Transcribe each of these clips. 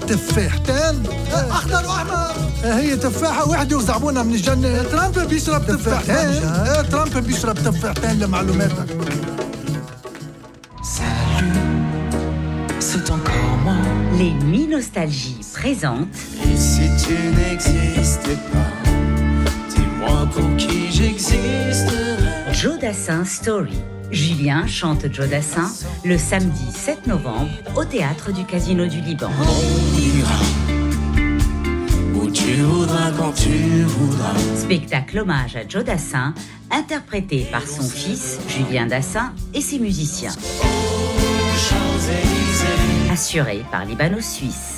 تفاحتين أخضر وأحمر. هي تفاحة واحدة وزعبونا من الجنة. ترامب بيشرب تفاحتين. ترامب بيشرب تفاحتين لمعلوماتك. C'est encore moi. Les Nuits Nostalgie présentent. Et si tu n'existais pas, dis-moi pour qui j'existerais. Joe Dassin Story. Julien chante Joe Dassin le samedi 7 novembre au théâtre du Casino du Liban. On ira où tu voudras quand tu voudras. Spectacle hommage à Joe Dassin, interprété par son fils Julien Dassin et ses musiciens. Assuré par Libano-Suisse.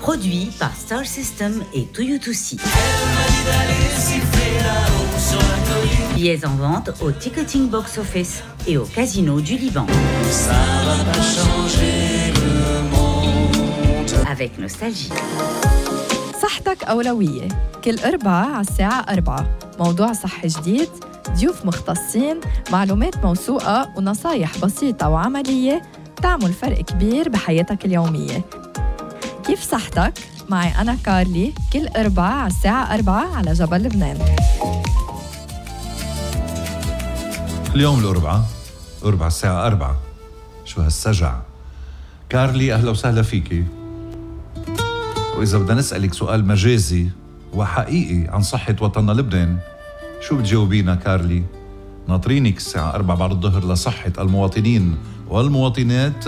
Produit par Star System et Toyotoussi. Billets en vente au Ticketing Box Office et au Casino du Liban. Ça va pas changer le monde. Avec nostalgie. صحتك أولوية. كل أربعة على الساعة 4 موضوع صحي جديد، ضيوف مختصين، معلومات موثوقة ونصايح بسيطة وعملية تعمل فرق كبير بحياتك اليومية. كيف صحتك؟ معي أنا كارلي كل أربعة على الساعة 4 على جبل لبنان. اليوم الأربعة الساعة 4. شو هالسجع. كارلي أهلا وسهلا فيكي. وإذا بدنا نسألك سؤال مجازي وحقيقي عن صحة وطننا لبنان، شو بتجاوبينا كارلي؟ ناطرينك الساعة 4 بعد الظهر لصحة المواطنين والمواطنات،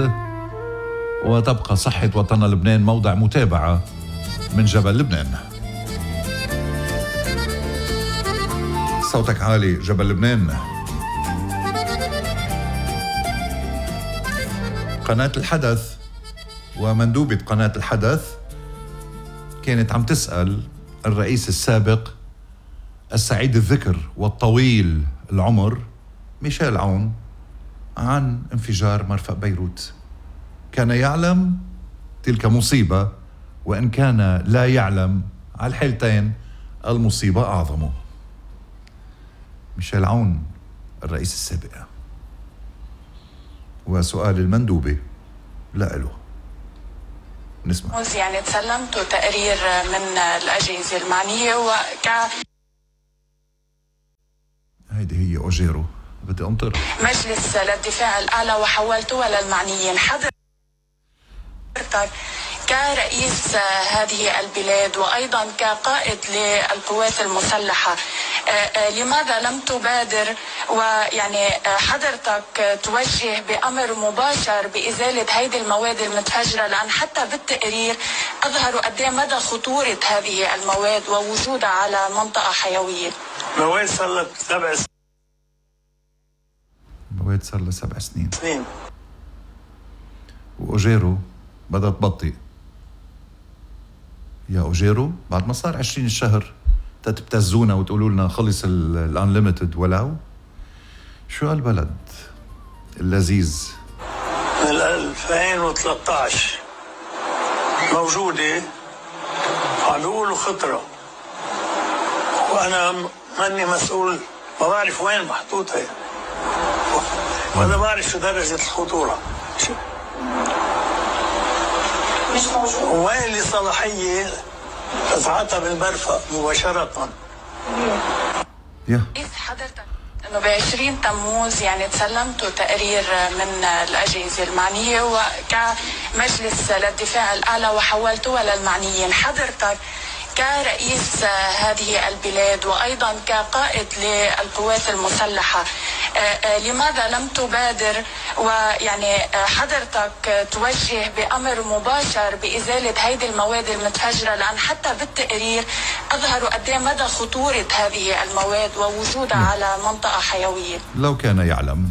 وتبقى صحة وطننا لبنان موضع متابعة من جبل لبنان. صوتك عالي جبل لبنان. قناة الحدث ومندوبة قناة الحدث كانت عم تسأل الرئيس السابق السعيد الذكر والطويل العمر ميشيل عون عن انفجار مرفأ بيروت. كان يعلم تلك مصيبة، وإن كان لا يعلم على الحالتين المصيبة أعظم. ميشيل عون الرئيس السابق. وسؤال المندوبة لا له نسمع. يعني تسلمتوا تقرير من الأجهزة المعنية هيدي هي أوجيرو بدي أنطر مجلس للدفاع الأعلى وحولتوها للمعنيين. حضرتك كرئيس هذه البلاد وأيضا كقائد للقوات المسلحة، لماذا لم تبادر ويعني حضرتك توجه بأمر مباشر بإزالة هيدي المواد المتفجرة؟ لأن حتى بالتقرير أظهروا قد ايه مدى خطورة هذه المواد ووجودها على منطقة حيوية. مواد صار لها 7 سنين. مواد صار لها 7 سنين. وأوجيرو بدها تبطئ. يا أوجيرو بعد ما صار 20 الشهر تبتزونا وتقولوا لنا خلص الانليمتد ولو شو هالبلد اللذيذ. من 2013 موجودة عم بيقولوا خطرة، وأنا ماني مسؤول، ما بعرف وين محطوطة وأنا بعرف شو درجة الخطورة. مش موجود. وين لي صلاحية أسعتها بالمرفأ مباشرة. حضرتك انه ب20 تموز يعني تسلمتوا تقرير من الاجهزه المعنيه وكمجلس للدفاع الاعلى وحولتوها للمعنيين. حضرتك كرئيس هذه البلاد وايضا كقائد للقوات المسلحه، لماذا لم تبادر ويعني حضرتك توجه بأمر مباشر بإزالة هيدي المواد المتفجرة؟ لأن حتى بالتقرير أظهروا قد ايه مدى خطورة هذه المواد ووجودها على منطقة حيوية. لو كان يعلم،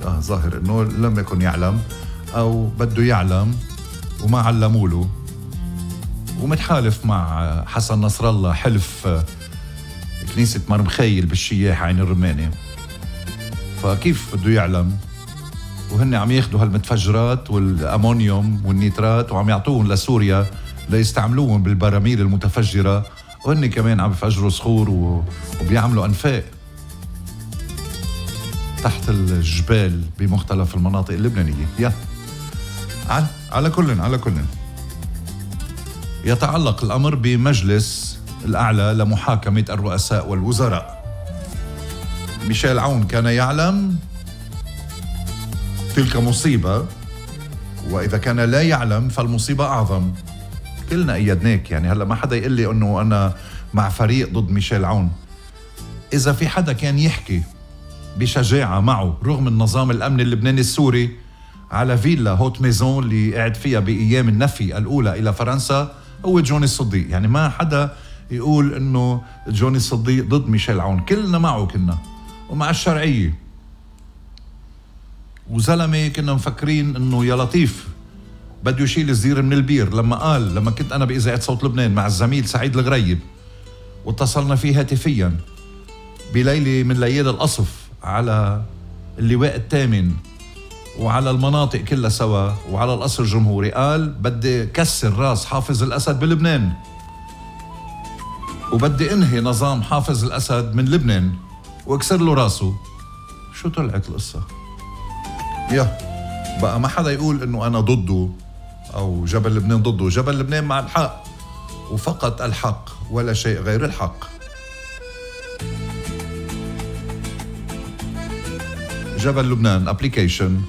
ظاهر إنه لم يكن يعلم أو بده يعلم وما علموا له، ومتحالف مع حسن نصر الله حلف كنيسة مرمخيل بالشياح عين الرماني، فكيف بده يعلم وهن عم ياخدوا هالمتفجرات والأمونيوم والنيترات وعم يعطوهم لسوريا ليستعملوهم بالبراميل المتفجرة، وهن كمان عم يفجروا صخور وبيعملوا أنفاق تحت الجبال بمختلف المناطق اللبنانية. على كل يتعلق الأمر بمجلس الأعلى لمحاكمة الرؤساء والوزراء. ميشيل عون كان يعلم تلك مصيبة، وإذا كان لا يعلم فالمصيبة أعظم. كلنا أيدناك، يعني هلأ ما حدا يقول لي أنه أنا مع فريق ضد ميشيل عون. إذا في حدا كان يحكي بشجاعة معه رغم النظام الأمني اللبناني السوري على فيلا هوت ميزون اللي قاعد فيها بأيام النفي الأولى إلى فرنسا، هو جوني الصديق. يعني ما حدا يقول أنه جوني الصديق ضد ميشيل عون، كلنا معه كنا ومع الشرعية. وزلمة كنا مفكرين أنه يا لطيف بده يشيل الزير من البير، لما كنت أنا بإذاعة صوت لبنان مع الزميل سعيد الغريب واتصلنا فيه هاتفيا بليلة من ليالي القصف على اللواء الثامن وعلى المناطق كلها سوا وعلى القصر الجمهوري، قال بدي كسر راس حافظ الأسد بلبنان وبدي انهي نظام حافظ الأسد من لبنان واكسر له راسه. شو طلعت القصة؟ بقى ما حدا يقول انه انا ضده او جبل لبنان ضده. جبل لبنان مع الحق وفقط الحق ولا شيء غير الحق. جبل لبنان ابليكيشن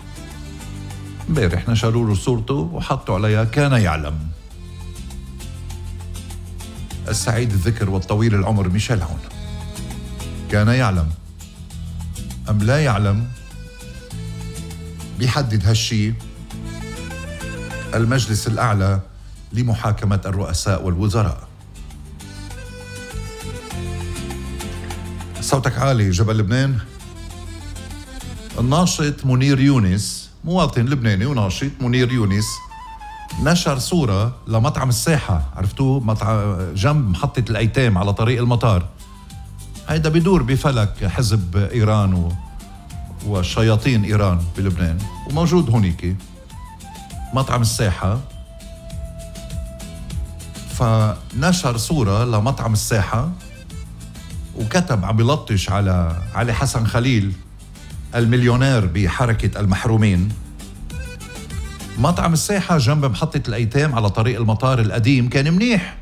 امبارح نشروا له صورته وحطوا عليها كان يعلم. السعيد الذكر والطويل العمر ميشيل عون كان يعلم أم لا يعلم؟ بيحدد هالشي المجلس الأعلى لمحاكمة الرؤساء والوزراء. صوتك عالي جبل لبنان. الناشط منير يونس، مواطن لبناني وناشط، منير يونس نشر صورة لمطعم الساحة، عرفتوه؟ مطعم جنب محطة الأيتام على طريق المطار. هيدا بدور بفلك حزب إيران وشياطين إيران بلبنان، وموجود هونيك مطعم الساحة. فنشر صورة لمطعم الساحة وكتب عم بلطش على علي حسن خليل المليونير بحركة المحرومين. مطعم الساحة جنب محطة الأيتام على طريق المطار القديم كان منيح،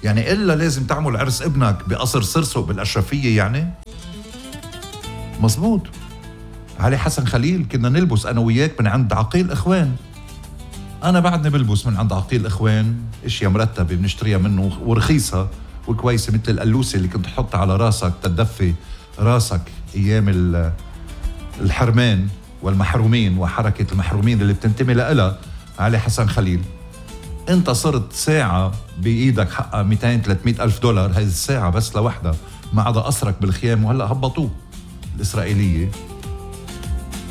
يعني إلا لازم تعمل عرس ابنك بقصر سرسو بالأشرفية يعني؟ مزبوط. علي حسن خليل كنا نلبس أنا وياك من عند عقيل إخوان، أنا بعدني بلبس من عند عقيل إخوان، إشياء مرتبة بنشتريها منه ورخيصة وكويسة، مثل القلوسة اللي كنت تحطها على راسك تدفي راسك أيام الحرمان والمحرومين وحركة المحرومين اللي بتنتمي لها علي حسن خليل. انت صرت ساعة بإيدك حقها 200-300 ألف دولار، هذه الساعة بس لوحدها ما عدا قصرك بالخيام، وهلأ هبطوه الإسرائيلية.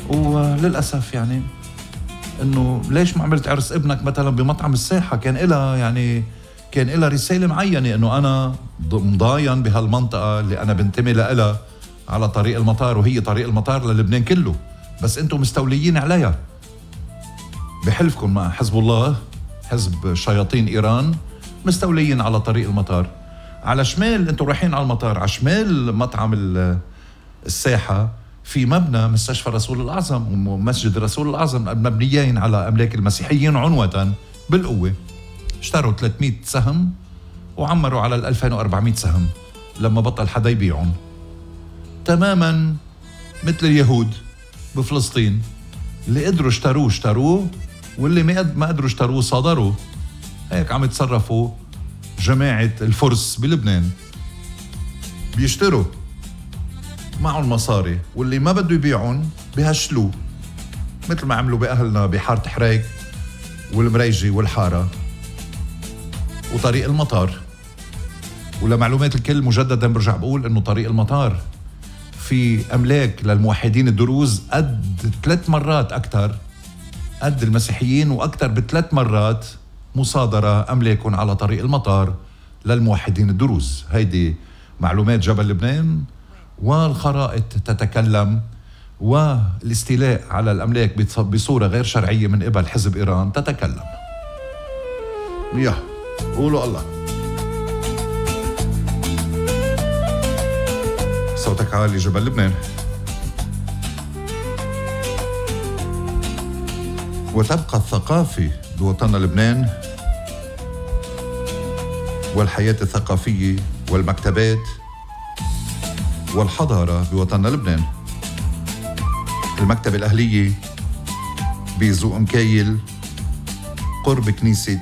وللأسف يعني انه ليش ما عملت عرس ابنك مثلا بمطعم الساحة؟ كان إلها رسالة معينة انه انا مضاين بهالمنطقة اللي انا بنتمي لها على طريق المطار، وهي طريق المطار للبنان كله، بس انتم مستوليين عليها بحلفكم مع حزب الله، حزب شياطين إيران، مستوليين على طريق المطار. على شمال انتم رايحين على المطار، على شمال مطعم الساحة في مبنى مستشفى رسول الأعظم ومسجد رسول الأعظم، مبنيين على أملاك المسيحيين عنوة بالقوة. اشتروا 300 سهم وعمروا على 2400 سهم لما بطل حدا يبيعهم، تماما مثل اليهود بفلسطين، اللي قدروا اشتروه واللي ما قدروا اشتروه صادروا. هيك عم يتصرفوا جماعة الفرس بلبنان، بيشتروا معهم مصاري واللي ما بده يبيعهم بهشلوه، مثل ما عملوا بأهلنا بحارة حريك والمريجي والحارة وطريق المطار. ولمعلومات الكل مجددا برجع بقول انه طريق المطار في أملاك للموحدين الدروز قد 3 مرات أكثر، قد المسيحيين وأكثر ب3 مرات مصادرة أملاكهم على طريق المطار للموحدين الدروز. هيدي معلومات جبل لبنان، والخرائط تتكلم، والاستيلاء على الأملاك بصورة غير شرعية من قبل حزب إيران تتكلم. قولوا الله. صوتك عالي جبل لبنان. وتبقى الثقافة بوطننا لبنان والحياة الثقافية والمكتبات والحضارة بوطننا لبنان. المكتبة الأهلية بزوق مكايل قرب كنيسة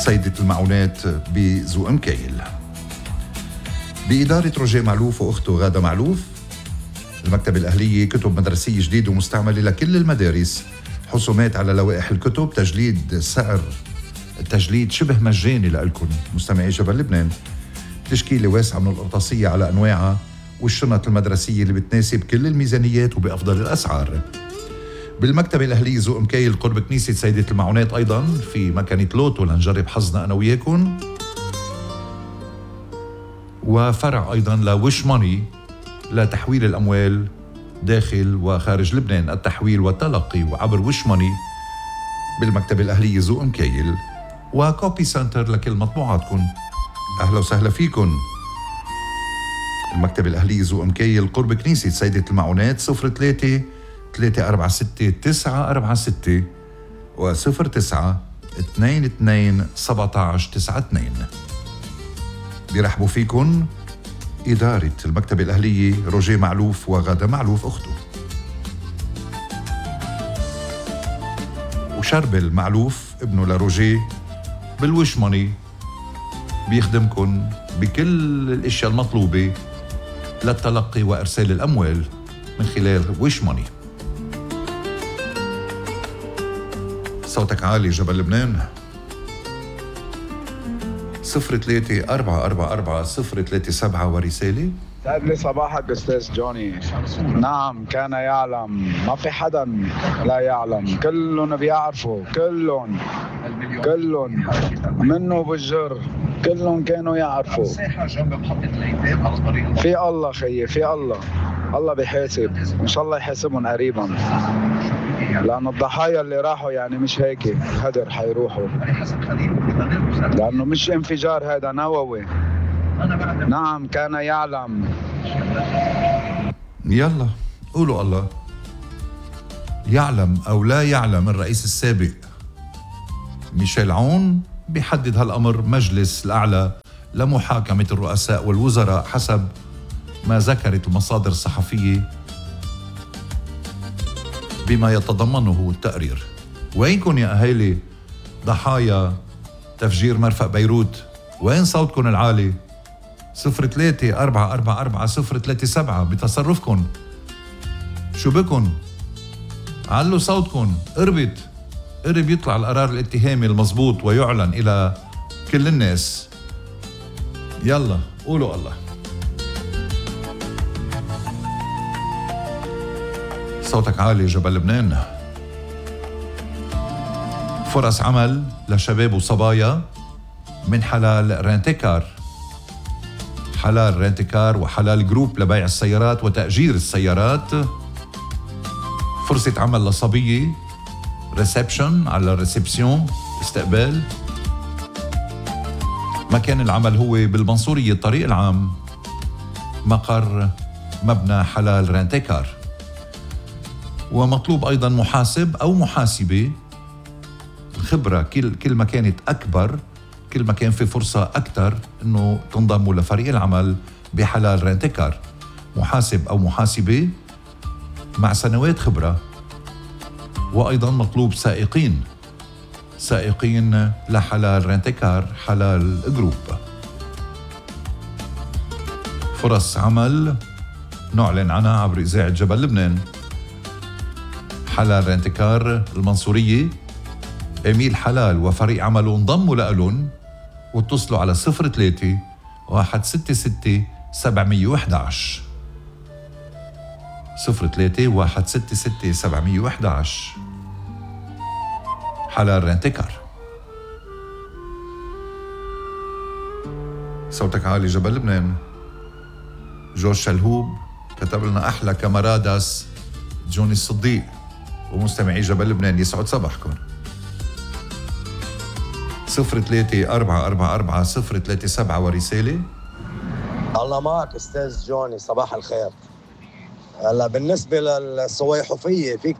سيدة المعونات بزوق مكايل، بإدارة روجيه معلوف وأخته غادة معلوف. المكتبة الأهلية كتب مدرسية جديدة ومستعملة لكل المدارس، حسومات على لوائح الكتب، تجليد سعر التجليد شبه مجاني لألكن مستمعي جبل لبنان، تشكيلة واسعة من القرطاسية على أنواعها والشنط المدرسية اللي بتناسب كل الميزانيات وبأفضل الأسعار. بالمكتبة الأهلية زوق مكايل قرب كنيسة سيدة المعونات أيضا في مكانة لوتو لنجرب حظنا أنا وياكم، وفرع أيضا لوش ماني لتحويل الأموال داخل وخارج لبنان، التحويل والتلقي وعبر وش ماني بالمكتبة الأهلية زوق مكايل، وكوبي سنتر لكل مطبوعاتكم. أهلا وسهلا فيكم. المكتبة الأهلية زوق مكايل قرب كنيسة سيدة المعونات 03 346 946 و 09 22 17 92. بيرحبوا فيكم إدارة المكتبة الأهلية روجيه معلوف وغادة معلوف أخته، وشربل معلوف ابنه لروجيه بالوش ماني بيخدمكن بكل الاشياء المطلوبة للتلقي وارسال الاموال من خلال وش ماني. صوتك عالي جبل لبنان 03-444-037 ورسالة. سعد لي صباحك استاذ جوني. نعم كان يعلم، ما في حدا لا يعلم، كلهم بيعرفوا، كلهم منه بالجر، كلهم كانوا يعرفوا. في الله خيي، في الله بيحاسب، ان شاء الله يحاسبهم قريبا، لأن الضحايا اللي راحوا يعني مش هيك هدر حيروحوا، لأنه مش انفجار، هذا نووي. نعم كان يعلم. يلا قولوا الله. يعلم أو لا يعلم الرئيس السابق ميشيل عون بيحدد هالأمر مجلس الأعلى لمحاكمة الرؤساء والوزراء حسب ما ذكرت المصادر الصحفية بما يتضمنه التقرير. وينكن يا أهالي ضحايا تفجير مرفأ بيروت؟ وين صوتكن العالي؟ 03-444-037 بتصرفكن. شو بكن؟ علوا صوتكن، قرب يطلع القرار الاتهامي المضبوط ويعلن إلى كل الناس. يلا قولوا الله. صوتك عالي جبل لبنان. فرص عمل لشباب وصبايا من حلال رينتيكار، حلال رينتيكار وحلال جروب لبيع السيارات وتأجير السيارات. فرصة عمل لصبية ريسبشن على الريسبسيون استقبال. مكان العمل هو بالمنصورية الطريق العام مقر مبنى حلال رينتيكار. ومطلوب أيضا محاسب أو محاسبة. الخبرة كل ما كانت أكبر كل ما كان في فرصة أكثر أنه تنضموا لفريق العمل بحلال رينتيكار. محاسب أو محاسبة مع سنوات خبرة. وأيضا مطلوب سائقين لحلال رينتيكار حلال جروب. فرص عمل نعلن عنها عبر إذاعة جبل لبنان. حلال رينتيكار المنصورية، إميل حلال وفريق عمله انضموا لألون، واتصلوا على 03-166-711 03-166-711 حلال رينتيكار. صوتك عالي جبل لبنان. جورج شلهوب كتب لنا أحلى كاماراداس جوني الصديق. ومستمعي جبل لبنان يسعد صباحكم. 03-444-037 ورسالة. الله معك أستاذ جوني، صباح الخير. هلا بالنسبة للصويحوفية في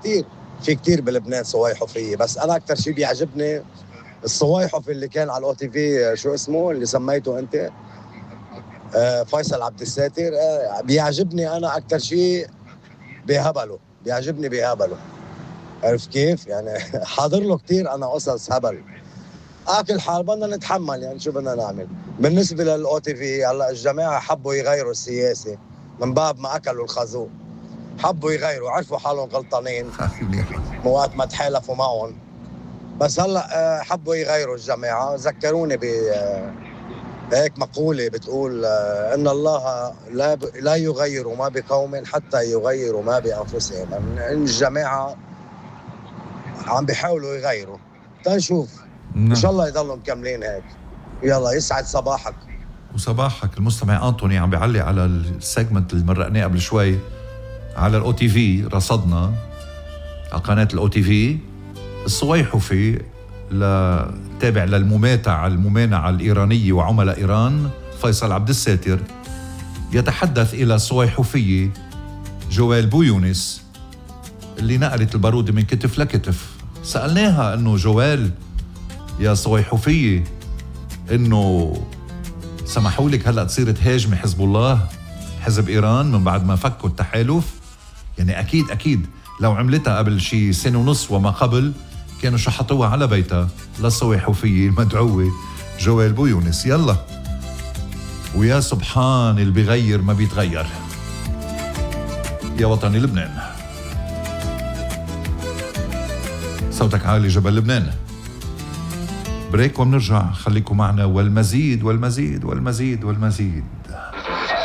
في كتير بلبنان صوايحفية، بس أنا أكتر شي بيعجبني الصوايحفي اللي كان على الأو تي في، شو اسمه اللي سميته أنت؟ فيصل عبد الساتر. بيعجبني أنا أكتر شي بهبله، بيعجبني بهبله. عرف كيف؟ يعني حاضر له كتير أنا قصص هبل. اكل حال بدنا نتحمل، يعني شو بدنا نعمل. بالنسبه للاو تي في هلا الجماعه حبوا يغيروا السياسه من باب ما اكلوا الخازوق، حبوا يغيروا، عرفوا حالهم غلطانين وقت ما تحالفوا معهم، بس هلا حبوا يغيروا الجماعه. ذكروني ب هيك مقوله بتقول ان الله لا يغير ما بقوم حتى يغيروا ما بانفسهم. يعني الجماعه عم بيحاولوا يغيروا، تنشوف ان شاء الله يضلوا مكملين هيك. يلا يسعد صباحك. وصباحك. المستمع أنطوني عم بيعلق على السيجمنت اللي مرقناه قبل شوي على الأو تي في. رصدنا على قناة الأو تي في الصويحفي تابع الممانعة الإيرانية وعملاء إيران فيصل عبد الساتر يتحدث إلى الصويحفية جوال بويونس اللي نقلت البارود من كتف لكتف. سألناها أنه جوال يا صويحفية إنه سمحوا لك هلأ تصير تهاجمي حزب الله حزب إيران من بعد ما فكوا التحالف؟ يعني أكيد لو عملتها قبل شي سنة ونص وما قبل كانوا شحطوها على بيتها للصويحفية المدعوة جوال بويونس. يلا ويا سبحان اللي بيغير ما بيتغير. يا وطني لبنان، صوتك عالي جبل لبنان. بريك ومنرجع، خليكم معنا والمزيد والمزيد والمزيد والمزيد.